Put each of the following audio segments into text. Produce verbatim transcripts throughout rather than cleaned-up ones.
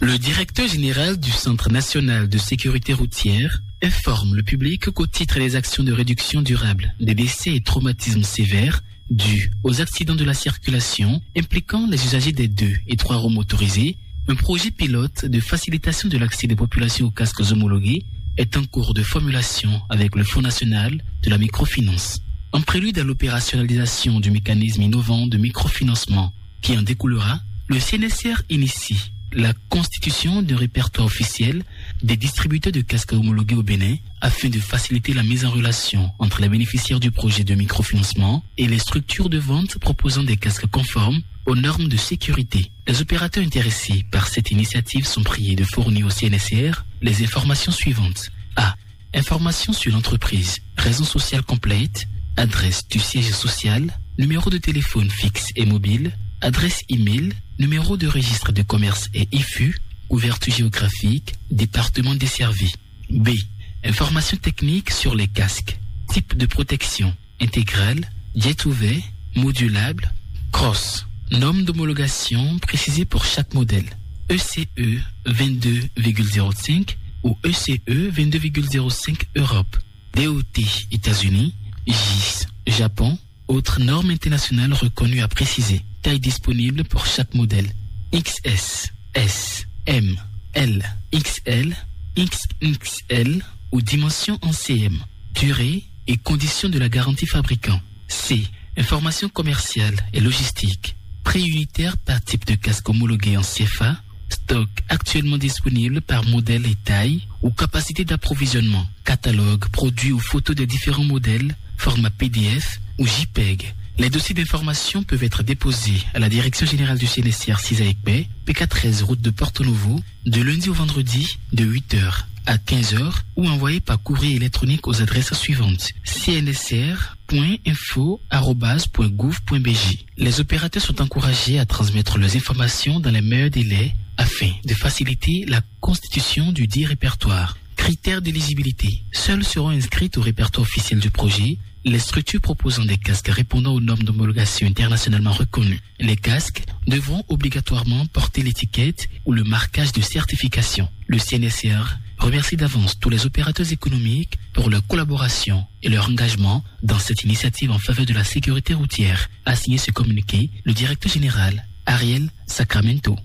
Le directeur général du Centre national de sécurité routière informe le public qu'au titre des actions de réduction durable des décès et traumatismes sévères dus aux accidents de la circulation impliquant les usagers des deux et trois roues motorisées, un projet pilote de facilitation de l'accès des populations aux casques homologués est en cours de formulation avec le Fonds national de la microfinance. En prélude à l'opérationnalisation du mécanisme innovant de microfinancement qui en découlera, le C N S R initie la constitution d'un répertoire officiel des distributeurs de casques homologués au Bénin afin de faciliter la mise en relation entre les bénéficiaires du projet de microfinancement et les structures de vente proposant des casques conformes aux normes de sécurité. Les opérateurs intéressés par cette initiative sont priés de fournir au C N S R les informations suivantes. A. Information sur l'entreprise, raison sociale complète, adresse du siège social, numéro de téléphone fixe et mobile, adresse email, numéro de registre de commerce et I F U, couverture géographique, département desservi. B. Information technique sur les casques, type de protection, intégrale, jet ouvert, modulable, cross. Norme d'homologation précisée pour chaque modèle. E C E vingt-deux virgule zéro cinq ou E C E vingt-deux virgule zéro cinq Europe. D O T États-Unis, J I S Japon, autres normes internationales reconnues à préciser. Taille disponible pour chaque modèle. X S, S, M, L, X L, X X L ou dimension en C M. Durée et conditions de la garantie fabricant. C. Information commerciale et logistique. Prix unitaire par type de casque homologué en C F A. Stock actuellement disponible par modèle et taille ou capacité d'approvisionnement. Catalogue, produits ou photos des différents modèles, format P D F ou J peg. Les dossiers d'information peuvent être déposés à la Direction générale du C N S R six à Ekpé, P K treize route de Porto Novo, de lundi au vendredi, de huit heures à quinze heures, ou envoyés par courrier électronique aux adresses suivantes: C N S R point info arobase point gouv point B J. Les opérateurs sont encouragés à transmettre leurs informations dans les meilleurs délais afin de faciliter la constitution du dit répertoire. Critères d'éligibilité. Seuls seront inscrites au répertoire officiel du projet les structures proposant des casques répondant aux normes d'homologation internationalement reconnues. Les casques devront obligatoirement porter l'étiquette ou le marquage de certification. Le C N S R remercie d'avance tous les opérateurs économiques pour leur collaboration et leur engagement dans cette initiative en faveur de la sécurité routière, a signé ce communiqué le directeur général Ariel Sacramento.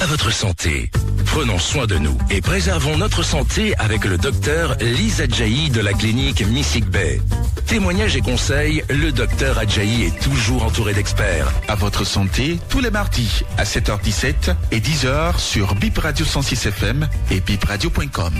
À votre santé. Prenons soin de nous et préservons notre santé avec le docteur Lise Adjaï de la clinique Missig Bay. Témoignages et conseils, le docteur Adjaï est toujours entouré d'experts. À votre santé, tous les mardis à sept heures dix-sept et dix heures sur Bip Radio cent six F M et bipradio point com.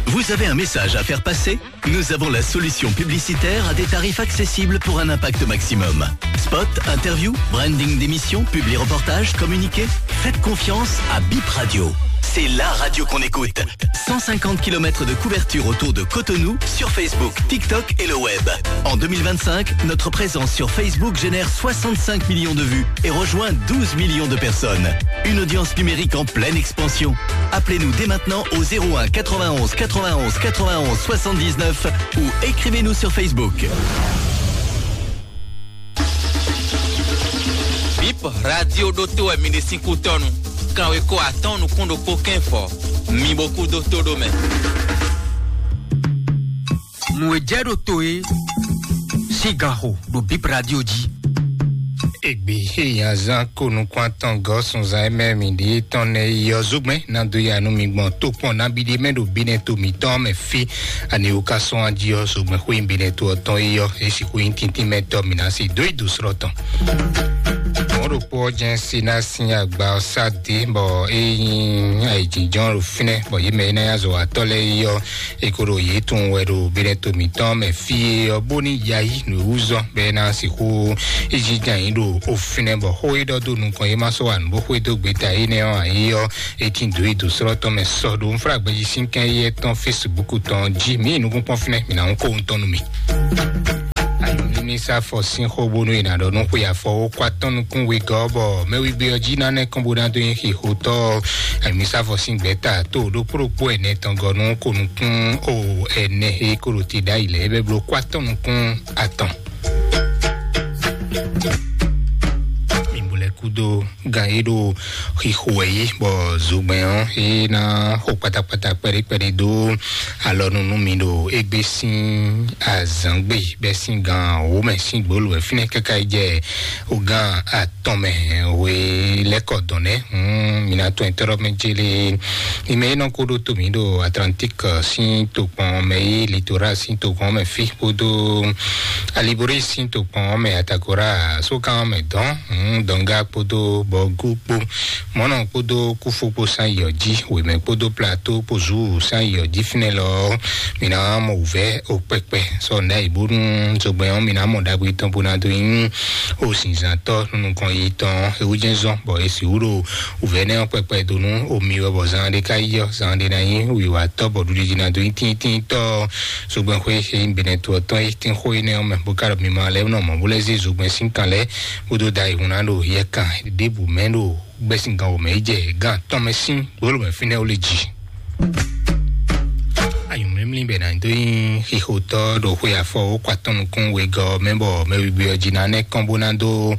Vous avez un message à faire passer ? Nous avons la solution publicitaire à des tarifs accessibles pour un impact maximum. Spot, interview, branding d'émission, publi reportage, communiqué. Faites confiance à Bip Radio. C'est la radio qu'on écoute. Cent cinquante kilomètres de couverture autour de Cotonou, sur Facebook, TikTok et le web. En deux mille vingt-cinq, notre présence sur Facebook génère soixante-cinq millions de vues et rejoint douze millions de personnes. Une audience numérique en pleine expansion. Appelez-nous dès maintenant au zéro un quatre-vingt-onze quatre-vingt-onze quatre-vingt-onze soixante-dix-neuf ou écrivez-nous sur Facebook. Bip Radio ɖo to wɛ mi ɖe sín kútɔ́nu. Kanwekó atɔ́ɔ́n nukún ɖokpó kɛ́n fɔ. Mi bo kú dó tó ɖó mɛ. Nǔ e jɛ ɖo to e sín gan xo ɖo Bip Radio jí. Egbe he nyi azán ko nukún atɔn gɔ́ sunzan e mɛ mi ɖe tɔn nɛ yi ɔ́, zogbɛ́n ná dó ya nú mi gbɔn tokpɔn nabí ɖé mɛ ɖo bínɛ to mǐtɔn mɛ fí. Ani wú ka sɔ́n ají ɔ́, zogbɛ́n xwé bínɛ to ɔ́ tɔn yi ɔ́, é sixú nyí tíntín mɛ tɔ́ mǐ ná se dó yi dǒ slɔ́ tɔn. Mɔ̌ ɖokpó ɔ́ jɛ́n se ná sín agba ɔ́ sá dě, bɔ é nyí ayǐjínjɔ́n ɖo fínɛ́, bɔ yě mɛ e ná nyí azɔ̌watɔ́ lɛ́ɛ yi ɔ́, é ko ɖo yě tunwun wɛ ɖo bínɛ to mǐtɔn mɛ fí e ɔ́, bónú ya yí nǔ e wú zɔ́n bɔ é ná sixú yi jínjɔ́n ayǐ ɖo fínɛ́, bɔ xó e ɖɔ dó nukɔn é má sɔ́ wa nǔ bó xwedó gbeta énɛ́ ɔ́ ǎ é ɔ́, é tín dǒ yi dǒ slɔ́ tɔn mɛ sɔ ɖo nflágbɛjí sín kɛn yi tɔn Facebook tɔn jí. Mǐ yi nukúnkpɔ́n fínɛ́, mǐ ná hún kó wuntɔn nú mi. Ayɔmímísá fɔ sín xó bónú è nǎ ɖɔ nú xwe afɔ ó kó atɔ́n nukún wegɔ́, bɔ mɛwigbé ɔ́ jí ná nɛ́ kɔn bó ná dó nyi xixotɔ́. Ayɔmísá fɔ sín gbɛ̌ta tó ɖokpó ɖokpó ɛnɛ tɔn gɔ́ nú ko nukún o ɛnɛ e kó ɖo te ɖ'ayǐ lɛ́ɛ bɛ́ bló kó atɔ́n nukún atɔn. Mǐ kúdó gan é ɖo xixo wɛ yí, bɔ zogbɛn ɔ́ é ná xo kpatakpata kpɛɖé kpɛɖé dó alɔnu nú mi ɖo égbé sín azǎngbe bɛ́ sín gan wǒ mɛ sín gbolo wɛ fínɛ́ káká yi jɛ o gan atɔn mɛ. We lɛ́kɔ dɔn nɛ́. Hmm, mi ná tɔn tɔ́rɔ mɛ jélé. Ime é nɔ kó ɖó to mǐ ɖo Atlantique sín tokpɔn mɛ yí, Litoral sín tokpɔn mɛ fí kpódó Alibori sín tokpɔn mɛ, Atagora sókan mɛ dɔn. Hmm, dɔnga kpódó bɔgú kpó, mɔnɔ kpódó kúfó kpó sán yɔ jí, wěmɛ kpódó plateau kpó zu sán yɔ jí fínɛ́ lɔ. Mi ná mɔ wǔvɛ́ o kpɛkpɛ sɔ nda yi bónú zogbɛn ɔ́ mi ná mɔ ɖagbe tɔn bó ná dó nyí o zinzantɔ nukɔn yi tɔn ewu jɛn zɔn bɔ esi wúɖo wǔvɛ́ nɛ́ ɔ́ kpɛkpɛ dó nú omi wɛ bɔ zan ɖé ká yi ɔ́, zan ɖé ná nyí wiwatɔ bɔ ɖuɖuɖu ná dó nyí tíntínntɔ. Zogbɛn xwé e nyí Benɛtu ɔ́ tɔn é tín xó énɛ́ ɔ́ mɛ bó ká ɖɔ mi ma lɛ́ nɔ mɔ bó lɛ́ zé zogbɛn sín kan lɛ́ bó dó da yi hun ná ɖo yɛ kan ɖěbǔ mɛ ɖo gbɛ́síngán wǒ mɛ yi jɛ gán tɔn mɛ sín gbolo mɛ fínɛ́ ó lé jí. Anyǔmlímlí bɛ ná dó nyí xixotɔ́ ɖo xwe afɔ ó kɔ atɔn nukún wegɔ́ mɛ bɔ mɛ wiwi ɔ́ jí ná nɛ́ kɔn bó ná dó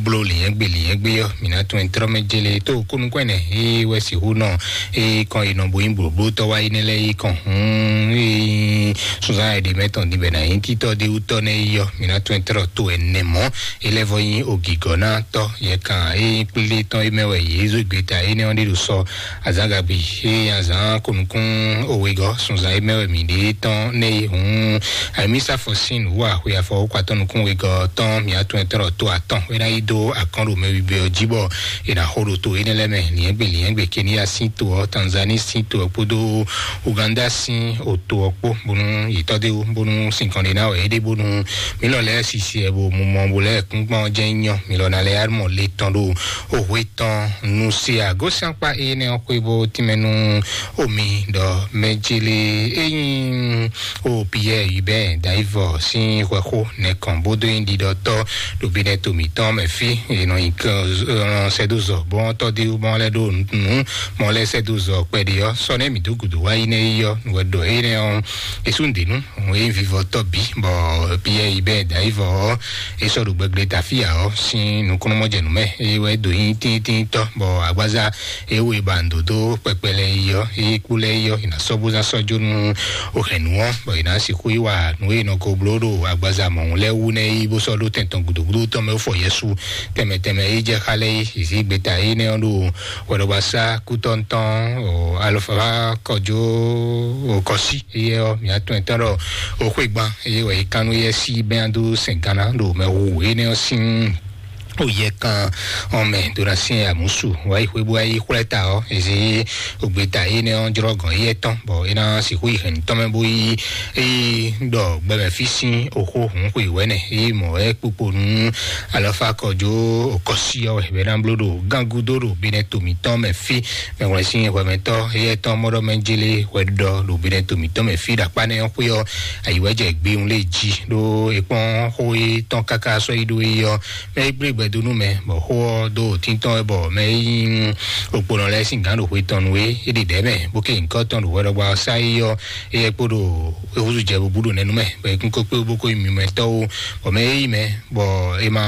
bló lǐnyɛ́gbe lǐnyɛ́gbe ɔ́, mǐ ná tún ɛ trɔ́ mɛ jélé tó kónúkɔ́ ɛnɛ é wɛ sixú nɔ é kɔn yi nɔ bó nyí blǒblótɔ́ wá yi nɛ́ lɛ́ɛ yi kɔn hún é sunzán ɛɖě mɛ tɔn din bɛ ná nyí títɔ́ ɖé wútɔ́ nɛ́ yi ɔ́, mǐ ná tún ɛ trɔ́ tó ɛnɛ mɔ̌. É lɛ́ vɔ nyí ògǐgɔ́nátɔ́ yɛ kan é nyí kplé tɔn é mɛ wɛ yě zó gbeta énɛ́ ɔ́ ɖé ɖo sɔ azǎngagbe é azǎn kɔnukún owegɔ́ sunzan é mɛ wɛ mǐ ɖe tɔn nɛ́ é hǔn ayimísafɔ sín nǔwú axwe afɔ wókɔ atɔ́ nukún wegɔ́ tɔn mǐ atún ɛtɔ́ ɖɔ tó atɔn é ná yi dó akɔ́n ɖo mɛ wibe ɔ́ jí bɔ è nǎ xo ɖo to énɛ́ lɛ́ɛ mɛ liɛ́ngbè liɛ́ngbè Kenya sín to ɔ́, Tanzanie sín to ɔ́ kpódó Uganda sín oto ɔ́ kpó bónú yětɔ́ dé wú bónú sinkɔn ɖé ná wɛ é ɖe bónú mǐ lɔ lɛ́ɛ sisi ɛ bo mumɔ bo lɛ́ɛ kúnkpɔ́n jɛ́n nyɔ mǐ lɔ ná lɛ́ɛ mɔ le tɔn ɖo ohwe tɔn nu se agosíankpa énɛ́ ɔ́ xwé bó tínmɛ nú omi ɖɔ mɛ jélé é nyí o Pierre Hubert Daivɔ sín hwɛxó nɛkɔn bó dó nyí ɖiɖɔtɔ́ ɖo binɛ to mǐtɔn mɛ fí è nɔ nyi sɛdozɔ bɔn tɔ́ dé bɔn lɛ́ ɖo nǔ mɔ lɛ́ sɛdozɔ kpɛɖé ɔ́ sɔ nɛ́ mǐ dó gǔdo wá yi nɛ́ yi ɔ́ nǔ wɛ ɖɔ énɛ́ ɔ́. Esúndenu òun é vivɔtɔ́ bí bɔ Pierre Hubert Daivɔ ɔ́ é sɔ́ ɖo gbɛgblé tafíya ɔ́ sín nukúnnú mɔjɛnú mɛ é wɛ ɖo nyí tíntínntɔ́ bɔ agbaza é wo é ba nǔ dó kpɛkpɛ lɛ́ɛ yi ɔ́ é kpó lɛ́ɛ yi ɔ́ è nǎ sɔ́ bó ná sɔ́ jó nú òhɛ̌nú ɔ́ bɔ è nǎ sixú yi wa nǔ e è nɔ ko bló ɖo agbaza mɔ̌hun lɛ́ɛ wú nɛ́ yi bó sɔ́ ɖó tɛn tɔn gǔdúgúdú tɔn mɛ fɔ Yɛsu tɛnmɛ tɛnmɛ é jɛ xá lɛ́ɛ yi zǐzí gbeta énɛ́ ɔ́ ɖo hwɛɖɔgbasá kútɔ́ntɔn alɔfa kɔjó kɔsí. Eye ɔ́ mǐ atɔn ɛtɔn ɖɔ o xwé gban eye wɔ yi kan nú yɛ sí bɛn dó sɛn gánná ɖo mɛ hu énɛ́ ɔ́ sín o yɛ kan ɔn mɛ ɖo ná sin amusu wá yi xwé bó wá yi xwlɛ ta ɔ́ ezi o gbeta énɛ́ ɔ́ jlɔ́ gɔn éyɛ́ tɔn bɔ é ná sixú yi hɛn tɔn mɛ bó yi é ɖɔ gbɛmɛ fí sín oxó hun xwe wɛnɛ é mɔ é kpokpo nú alɔfa kɔjó okɔsi ɔ́ wɛ bɛ ná bló ɖo gángu dó ɖo binɛ to mǐtɔn mɛ fí. Mɛwlɛsin hwɛmɛtɔ́ éyɛ́ tɔn mɔɖɔ mɛ jélé hwɛ ɖɔ ɖo binɛ to mǐtɔn mɛ fí ɖo akpá nɛ́ ɔ́ xwé ɔ́ ayiwɛ́jɛ gbéhùn lé jí ɖó é kpɔ́n xó é tɔn káká sɔ́ yi ɖó é ɔ́ mɛ é gblé gbɛdó nú mɛ bɔ xó ɔ́ dó tíntɔ́n wɛ bɔ mɛ é nyí okponɔ lɛ́ɛ sín gǎn ɖo xwe tɔn nú é é ɖi ɖɛ̌ mɛ bó ké nyǐkɔ tɔn ɖo hwɛɖɔgba ɔ́ sá é ɔ́ éyɛ́ kpó ɖo é húzú jɛ bó bú ɖo nɛnú mɛ bɔ é kún kó kpé bó kó nyí mimɛtɔ́ ó bɔ mɛ é yi mɛ bɔ è ma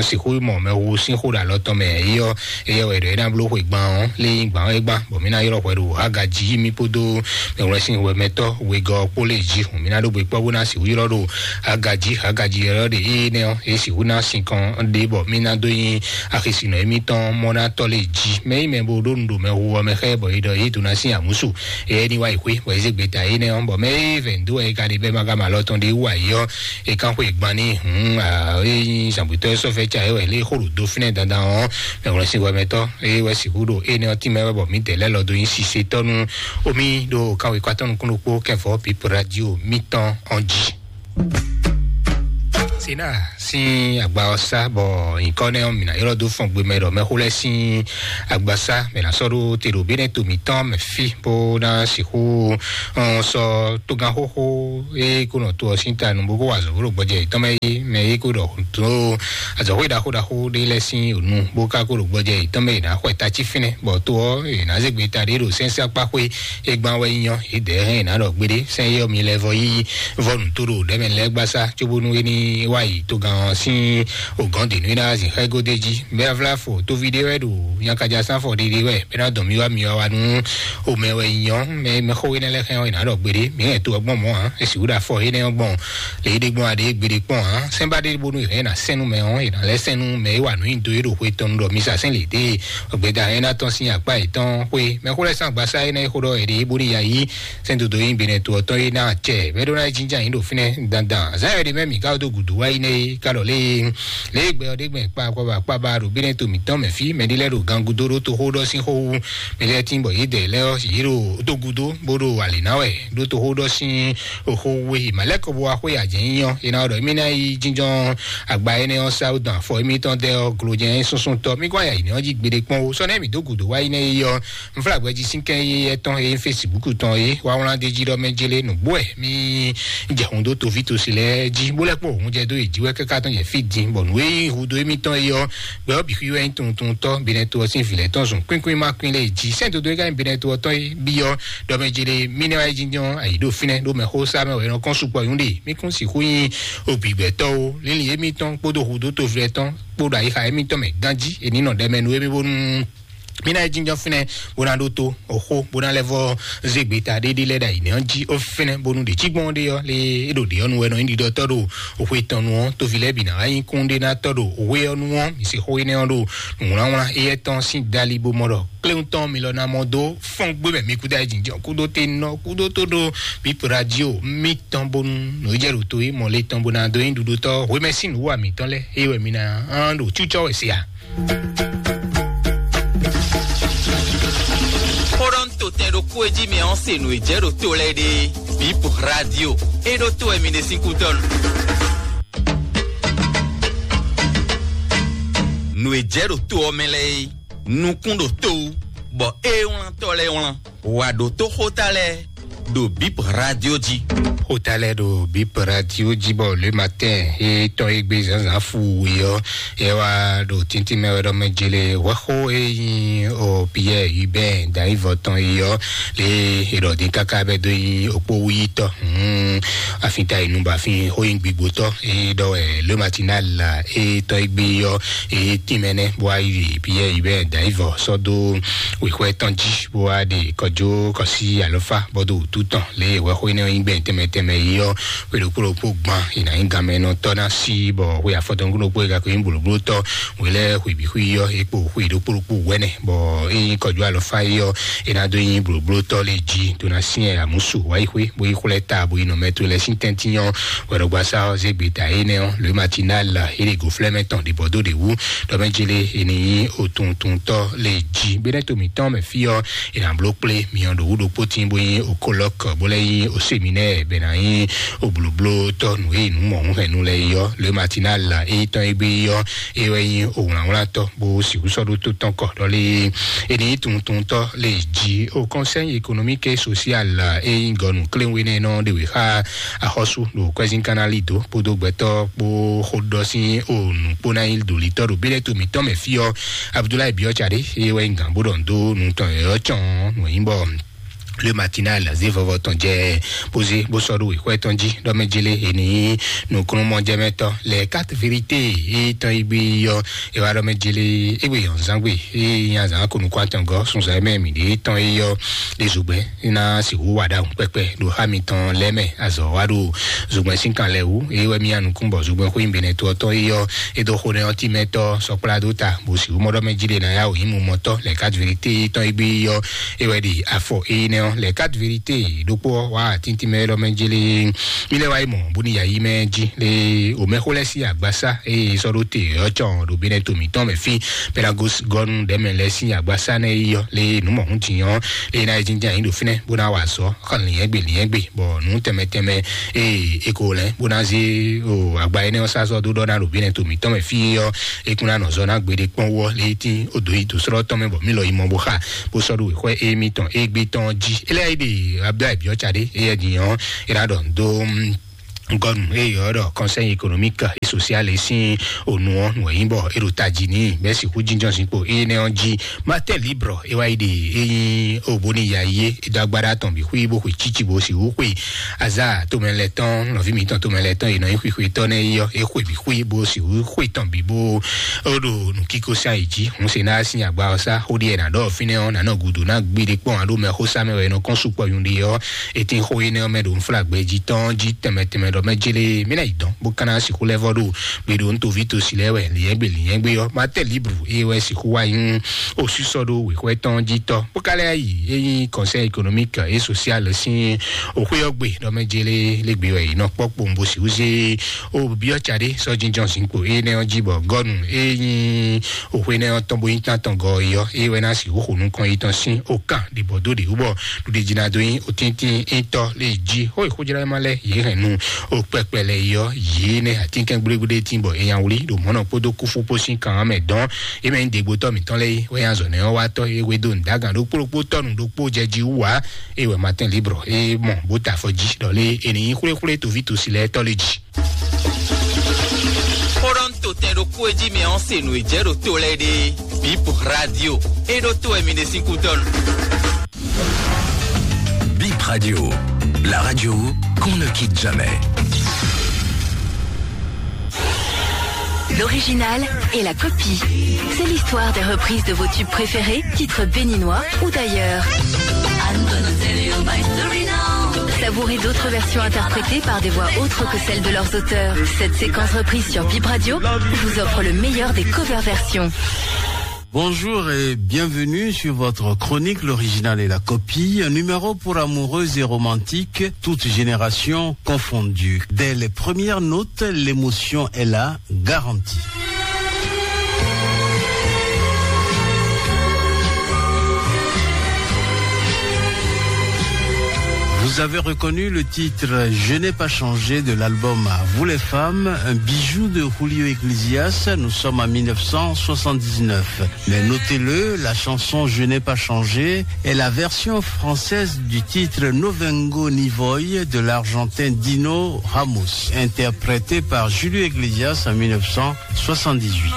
sixú mɔ mɛhu sín xó ɖo alɔ tɔn mɛ yi ɔ́, éyɛ́ wɛ ɖɔ é ná bló xwe gban ɔ́ lé nyí gban ɔ́ é gban bɔ mí ná ylɔ́ hwɛ ɖo Hagaji mí kpódó mɛwlɛ́sin hwɛmɛtɔ́ wegɔ́ kpó lé jí hǔn mí ná ɖó gbe kpɔ́ bó ná sixú ylɔ́ ɖo Hagaji. Hagaji ylɔ́ ɖe énɛ́ ɔ́ é sixú ná sinkɔn ɖé bɔ mí ná dó nyí axisinɔ émítɔn mɔ́nátɔ́ lé jí mɛ yi mɛ bó ɖó nu ɖo mɛhu ɔ́ mɛ xá ɛ bɔ é ɖɔ é dó ná sín amǔsu. Éyɛ́ ní wá yi xwé bɔ é zé gbeta énɛ́ ɔ́ bɔ mɛ é vɛ̌ dó wɛ é ka ɖe bɛ́ ma ka ma lɔ tɔn ɖé wú ayǐ ɔ́ é kán xwe gban ní hǔn é nyí zǎngbetɔ́ é sɔ́ fɛ́ ca é wɛ lé xó ɖo dó fínɛ́ dandan ɔ́ mɛ wlɛ́ sí hwɛmɛtɔ́ é wɛ sixú ɖo énɛ́ ɔ́ tínmɛ wɛ bɔ mǐdɛɛ lɛ́ lɔ dó nyí sisetɔ́ nú omi ɖo kánwé kɔ́ atɔ́ nukún ɖokpó kɛfɔ pípo radio mítɔn ɔ́ jí. Sena sín agba ɔ́ sá bɔ nyǐkɔ nɛ́ ɔ́ mǐ ná ylɔ́ dó fɔn gbe mɛ ɖɔ mɛxó lɛ́ɛ sín agbasá mɛ ná sɔ́ ɖó te ɖo bí nɛ́ to mǐtɔn mɛ fí bó ná sixú sɔ́ tógán xóxó e kó nɔ to ɔ́ sín ta nu bó kó wa azɔ̌ bó ɖo gbɔjɛ yětɔn mɛ é mɛ é kó ɖɔ tó azɔ̌xwé ɖaxó ɖaxó ɖé lɛ́ɛ sín ònu bó ká kó ɖo gbɔjɛ yětɔn mɛ è nǎ xwɛ tací fínɛ́ bɔ to ɔ́ è nǎ zé gbeta ɖé ɖo sɛ́nsɛ́ akpá xwé é gbán wɛ nyí ɔ́ é dɛ̌ hɛn è nǎ ɖɔ gbéɖé sɛ́n é ɔ́ mi lɛ́ vɔ yí vɔ́ nǔ tó ɖo ɖɛ̌mɛ lɛ́ɛ gbasá cóbónú é ní wá yi togán ɔ́ sín ògɔ́n dě nú é ná zin xá égó d'é jí. Mɛ avláfɔ tóví ɖé wɛ ɖo nyakaja sánfɔ ɖéɖé wɛ bɛ ná dɔn mì wá mì wá wá nú omɛ wɛ nyɔ mɛ mɛxó énɛ́ lɛ́ɛ xɛ ɔ́ è nǎ ɖɔ gbeɖé mǐ hɛn to ɔ́ gbɔn mɔ̌ ǎ. È sixú ɖo afɔ énɛ́ ɔ́ gbɔn lě é ɖe gbɔn aɖě gbeɖé kpɔ́n ǎ. Sɛ́n bá ɖé bó nú è hɛn è nǎ sɛ́n nú mɛ ɔ́ è nǎ lɛ́ sɛ́n nú mɛ é wa nǔ nyi do é ɖo xwe tɔn nú ɖɔ mi sa sɛ́n lě dé gbɛda hɛn ná tɔn sín akpá yětɔn xwe mɛxó lɛ́ɛ sín agbasá énɛ́ é xó ɖɔ è ɖe é bó ní ya yí sɛ́n dodo nyi benɛ to ɔ́ tɔn é ná acɛ mɛ ɖó ná é jínján yín ɖo fínɛ́ dandan. Zǎn ɛ ɖe mɛ mǐ ká dó gǔdo wá yi nɛ́ é ká ɖɔ lé lé gbɛ ɔ́ ɖé gbɛn kpa kɔba kpaba ɖo benɛ to mǐtɔn mɛ fí mɛ ɖé lɛ́ɛ ɖo gangudo ɖó toxó ɖɔ sín xó wú mɛ lɛ́ɛ tín bɔ yě dɛ lɛ́ɛ ɔ́ yě ɖo dó gúdo bó ɖo alě ná wɛ ɖó toxó ɖɔ sín xó wú é. Mǎ lɛ́ kɔ bó wá xwé ajɛ̌ nyí ɔ́ é ná ɖɔ émí ná yi jínjɔ́n agba énɛ́ ɔ́ sá dɔn afɔ émítɔn dɛ ɔ́ glojɛ́n súnsúntɔ́ mí kɔn ya yǐ nɛ́ ɔ́ jí gbeɖé kpɔ́n ó sɔ́ nɛ́ mǐ dó gǔdo wá yi nɛ́ é ɔ́. Nflagbe jí sín kɛn yi etɔn e Facebook tɔn e wá wlán de jí ɖɔ mɛ jele nǔgbó ɛ mi jɛ hun dó toví tosi lɛ jí bó lɛ kpó hun jɛ dó yi jí wɛ kɛká tɔn jɛ fí din bɔ nǔ e hu dó émítɔn yi ɔ gbɛ ɔ bǐ xwí wɛ nyí tuntun tɔ binɛ to ɔ sín vǐ lɛ tɔn zun kpínkpín má kpín lɛ jí sɛn dodo e ka nyí binɛ to ɔ tɔn yi bí ɔ ɖɔ mɛ jele mi nɛ wá yi jí nyɔ ayi ɖo fínɛ ɖó mɛ xó sá mɛ wɛ nɔ kɔn sukpɔ yún ɖe mi kún sixú nyi ogbǐgbɛtɔ́ o lílì émítɔn kpódó hu dó toví lɛ tɔn kpódó ayixa émítɔn mɛ gánjí èní nɔ ɖɛ mɛ nú émí bónú mí ná yi jínjɔ́n fínɛ́ bó ná ɖótó òxó bó ná lɛ́ vɔ́ zé gbeta ɖéɖé lɛ́ ɖo ayǐ nɛ́ ɔ́ jí ó fínɛ́ bónú ɖě cí gbɔn ɖé ɔ́ lé é ɖo ɖě ɔ́ nu wɛ nɔ nyí ɖiɖɔtɔ́ ɖo òxwe tɔn nu ɔ́ tóvi lɛ́ɛ bǐ ná wá nyí kún ɖé ná tɔ́ ɖo òwe ɔ́ nu ɔ́ mǐ se xó énɛ́ ɔ́ ɖo nǔwlánwlán éyɛ́ tɔn sín dali bó mɔ ɖɔ kléwún tɔn mi lɔ ná mɔ dó fɔ́n gbé mɛ mi kúdó ayé jínjɔ́n kúdó te nɔ kúdó tó ɖó bípo radio mítɔn bónú nǔ jɛ ɖo to é mɔ lé tɔn bó ná dó nyí ɖuɖotɔ́ hwemɛ sín nǔ wa mǐtɔn lɛ́ɛ é wɛ mi ná ɖo cúcɔ wɛ se a. Xó ɖɔ ń to tɛn ɖokpó e jí mi ɔ́ se nǔ e jɛ ɖo to lɛ́ɛ ɖe bip radio é ɖó to wɛ mi ɖe sín kútɔ́nu. Nǔ e jɛ ɖo to ɔ́ mɛ lɛ́ɛ é nukún ɖo to wú bɔ é wlántɔ́ lɛ́ɛ wlán wǎ ɖó tó xóta lɛ́ɛ ɖo bip radio jí. Xóta lɛ́ɛ ɖo bip radio jí bɔ le matin é tɔn é gbé zǎnzǎn fu wě ɔ́ é wá ɖo tíntín mɛ wɛ ɖɔ mɛ jele hwɛxó é nyí o Pierre Hubert Daivɔ tɔn é ɔ́ lé é ɖɔ dín káká bɛ dó nyí okpó wúyítɔ́ afin ta yi nu bɔ afin xó nyí gbigbotɔ́ é ɖɔ wɛ le matinal é tɔn é gbé ɔ́ é tínmɛ nɛ́ bó wá yi Pierre Hubert Daivɔ sɔ́ dó wěxwɛ́ tɔn jí bó wá ɖe kɔjó kɔsí alɔfá bɔdó wútu tɔn lé wɛxó énɛ́ ɔ́ nyí gbɛn tɛnmɛ tɛnmɛ yi ɔ́ xwe ɖokpó ɖokpó gban è nǎ nyí ganmɛ nɔ tɔ́ ná sí bɔ xwe afɔtɔn ɖokpó e gako nyí blǒbló tɔ́ wě lɛ́ɛ xwe bǐ xwe yi ɔ́ é kpo xwe ɖokpó ɖokpó wɛnɛ bɔ é nyí kɔjó alɔfá yi ɔ́ é ná dó nyí blǒbló tɔ́ lé jí tó ná syɛ́n amǔsu wá yi xwé bó yi xwlɛ́ ta bó yi nɔ mɛ to lɛ́ɛ sín tɛ́ntin ɔ́ wɛɖɔgbasá ɔ́ zé gbeta énɛ́ ɔ́ le matinal é ɖe gǒflɛ́mɛ tɔn ɖě bɔ dó ɖě wú ɖɔ mɛ jele è nǐ nyí otuntuntɔ́ lé jí gbéɖɛ́ to mǐtɔn mɛ fí ɔ́ è nǎ bló kplé myɔ ɖo wú ɖokpó tín bó nyí okolɔk bó lɛ́ nyí oseminɛ́ɛ bɛ ná nyí oblǒblótɔ́ nǔ e nǔ mɔ̌hunhɛnnu lɛ́ɛ yi ɔ́ le matinal é tɔn é gbé yi ɔ́ é wɛ nyí owlǎnwlántɔ́ bó sixú sɔ́ ɖó tó tɔn kɔ ɖɔ lé é ní nyí tuntuntɔ́ lé jí o conseil économique et social é nyí gɔnu kléwé nɛ́ nɔ ɖe wě xá axɔ́sú ɖo kwɛ́zínkánná lido kpódó gbɛtɔ́ kpó xóɖɔ sín o nǔkpó ná nyí ɖolitɔ́ ɖo bílẹ̀ to mǐtɔn mɛ fí ɔ́ abudulayi biɔ tsa ɖé eye wɛ nyí gǎn bó ɖɔ nǔ dó nǔ tɔn yɔ̌yɔ́ cɔn nǔ e nyí bɔ le matinal zé vɔvɔ tɔn jɛ bó zé bó sɔ́ ɖó wěxwɛ́ tɔn jí ɖɔ mɛ jélé è ní nǔkúnnú mɔjɛmɛtɔ́ lɛ quatre vérité e tɔn yi gbé yɔ e wá ɖɔ mɛ jélé égbé yɔn zán gbé e nya zán ko nukún atɔngɔ sunzan mɛ mǐ ɖe tɔn e yɔ ɖe zogbɛ́n ná sixú wa ɖahun kpɛkpɛ ɖo xá mitɔn lɛ́ɛ mɛ azɔ̌ wa ɖo zogbɛ́n sín kan lɛ́ɛ wú eye wɛ mía nukún bɔ zogbɛ́n xwé nyí benɛ to ɔ́ tɔn e yɔ e dó xó nɛ ɔ́ tímɛtɔ́ sɔkplá dó ta bó sixú mɔ ɖɔ mɛ jí ɖe ná yá wò nyí mumɔtɔ́ lɛ quatre vérité e tɔn e gbé yɔ e wɛ ɖi afɔ éyí nɛ́ ɔ́ lɛ quatre vérité ɖokpó ɔ́ wá tíntín mɛ lɔ mɛ jélé mi lɛ wá yi mɔ bóni yayí mɛ jí lé omɛxó lɛ sí agbasa eye sɔ́ ɖó te ɔ́ cɔn ɖo bínɛ to mǐtɔn mɛ fí pɛlagosgɔnu ɖɛmɛ lɛ sí agbasa nɛ yi yɔ lé nǔ mɔ̌hún din ɔ́ lé ná yi jínján yín ɖo fínɛ́ bó ná wa azɔ̌ xɔ lǐnyɛ́gbe lǐnyɛ́gbe bɔ nǔ tɛnmɛ tɛnmɛ eye e ko lɛ́ bó ná zé o agba énɛ́ ɔ́ sá zɔ dó ɖɔ ná ɖo bínɛ to mǐtɔn mɛ fí ɔ́ e kún ná nɔ zɔ ná gbeɖé kpɔ́n wú ɔ́ lé tín o dǒ yi dǒ srɔ́ tɔn mɛ bɔ mí lɔ yi mɔ bó xa bó sɔ́ ɖo wěxɔ émítɔn égbé tɔn jí. Éliáyíɖe Abdulayi Biɔtsa ɖé éyɛ din ɔ́ é ná ɖɔ dó gɔnu eye ɔ́ ɖɔ conseil économique et sosiale sín onu ɔ́ nǔ e nyí bɔ é ɖo tají n'i bɛ́ sixú jínjɔ́n zinkpo énɛ́ ɔ́ jí. Matɛ libre é wá yi ɖe é nyí obóni ya yé é dó agbára tɔn bǐ xwí bó xwe cíci bó sixú xwe azá tomɛ lɛ́ɛ tɔn nɔví mǐtɔn tomɛ lɛ́ɛ tɔn è nɔ nyí xwixwe tɔn nɛ́ yɔ é xwe bǐ xwí bó sixú xwe tɔn bǐ bó ó ɖo nǔkíkó sá yi jí. Hǔn se ná sín agba ɔ́ sá xó ɖíe nǎ ɖɔ fínɛ́ ɔ́ nǎ nɔ gǔdo ná gbiɖe kpɔ́n aɖó mɛ xó sá mɛ wɛ è nɔ kɔn sukpɔ nyuɖe ɔ́. Etɛ́n xó énɛ́ ɔ́ mɛ ɖo nflágbɛ jí tɔn jí tɛnmɛ tɛnmɛ ɖɔ mɛ jélé mí ná yi dɔn bó ka ná sixú lɛ́ vɔ ɖo gbe ɖo ntoví tosi lɛ́ɛ wɛ lǐnyɛ́gbe lǐnyɛ́gbe ɔ́. Matɛ libre é wɛ sixú wá nyí osísɔ ɖó wěxwɛ́ tɔn jí tɔ́ bó ka lɛ́ yi é nyí conseil économique et social sín òxwé ɔ́ gbe ɖɔ mɛ jélé lé gbe wɛ yi nɔ kpɔ́ kpowun bó sixú zé ó byɔ́ tsa ɖé sɔ́ jínjɔ́n zinkpo énɛ́ ɔ́ jí bɔ gɔ́nu é nyí òxwé énɛ́ ɔ́ tɔn bó nyí tán tɔn gɔ é ɔ́ é wɛ ná sixú xo nukɔn yi tɔn sín ó kan ɖibɔ dó ɖě wú bɔ ɖuɖe jí ná dó nyí òtíntín étɔ́ lé jí xó e xójlá ma lɛ́ yě hɛn nu ó kpɛkpɛ lɛ yi ɔ́ yě nɛ atínkɛn gblégblétín bɔ é nya wlí ɖo mɔ̌ nɔ kpódó kúfú kpó sín kan ɔ́ mɛ dɔn. É mɛ nyí degbotɔ́ mǐtɔn lɛ́ɛ é wɛ nya zɔ nɛ́ ɔ́ wá tɔ́ é wé dó nǔdágan ɖokpó ɖokpó tɔ́nu ɖokpó jɛ jí wú ǎ. É wɛ Matin Libre é mɔ bó ta afɔ jí ɖɔ lé è nǐ nyí xwléxwlé toví tosi lɛ́ɛ tɔ́ lé jí. Xó ɖɔ ń to tɛn ɖokpó e jí mɛ ɔ́ se nǔ e jɛ ɖo to lɛ́ɛ ɖe. Bip Radio. É ɖó to wɛ mi ɖe sín kútɔ́nu. Bip Radio, la radio qu'on ne quitte jamais. L'original et la copie. C'est l'histoire des reprises de vos tubes préférés, titres béninois ou d'ailleurs. Savourez d'autres versions interprétées par des voix autres que celles de leurs auteurs. Cette séquence reprise sur Bip Radio vous offre le meilleur des cover versions. Bonjour et bienvenue sur votre chronique L'original et la copie, un numéro pour amoureux et romantiques, toutes générations confondues. Dès les premières notes, l'émotion est là, garantie. Vous avez reconnu le titre Je n'ai pas changé de l'album À vous les femmes, un bijou de Julio Iglesias. Nous sommes en mille neuf cent soixante-dix-neuf. Mais notez-le, la chanson Je n'ai pas changé est la version française du titre No Vengo Ni Voy de l'Argentin Dino Ramos, interprété par Julio Iglesias en mille neuf cent soixante-dix-huit.